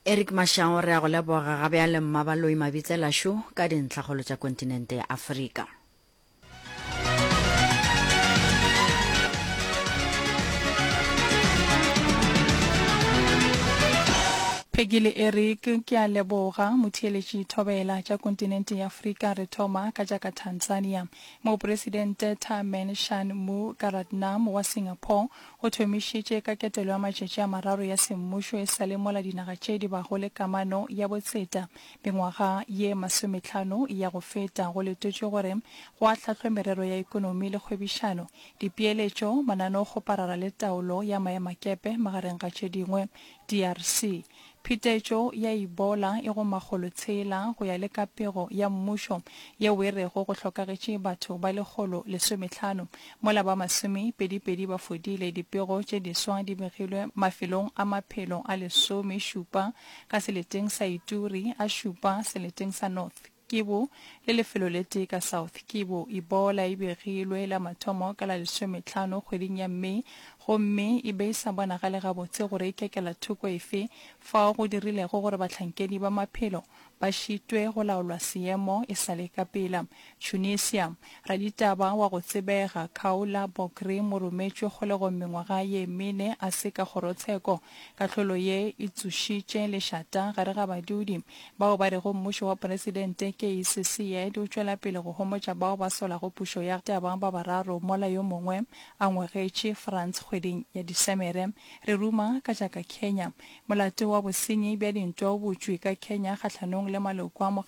Eric Mashao, re a go leboga ga bjale Mmabaloi Mabitsela-šo ka dintlhakgolo tša kontinente ya Afrika. Peggy le Eric, ke a leboga. Motheeletši Thobela tša kontinente ya Afrika re thoma ka tša ka Tanzania. Mopresidente Tharman Shanmugaratnam wa Singapore o thomišitše ka ketelo ya matšatši a mararo ya semmušo e sa le mola dinaga tše di bago le kamano ya botseta mengwaga ye masometlhano ya go feta. Go letetšwe gore go ahlahlwe merero ya ekonomi le kgwebišano, dipeeletšo, mananeokgoparara le taolo ya maemakepe magareng ga tše dingwe. DRC. Phetetšo ya Ebola e go makgolotshela go ya le ka pego ya mmušo yeo e rego go hlokagetše batho ba lekgolo lesometlhano mola ba masomepedipedi ba fodile. Dipego tše diswa di begilwe mafelong a maphelo a lesomešupa ka seleteng sa Ituri, a šupa seleteng sa North Kivu le lefelo le tee ka South Kivu. Ebola e begilwe la mathomo ka la lesometlhano kgweding ya May gomme e be e sa bonagale gabotse gore e kekela thoko efe fao go dirilego gore bahlankedi ba maphelo ba šitwe go laolwa seemo e sa le ka pela. Tunisia, Raditaba wa go tsebega Khaoula Bokri mo rometšwe kgolegong mengwaga ye mene a se ka kgorotsheko. Kahlolo ye e tsošitše lešata gare ga badudi bao ba rego mmušo wa Presidente Kais Saied o tšwela pele go homotša bao ba solago pušo ya taba ba bararo mola yo mongwe a ngwegetše France kgweding ya Disemere. Re ruma ka tša ka Kenya. Molato wa bosenyi bja dintwa o butšwe ka Kenya kgahlanong le maloko a mokgatlo.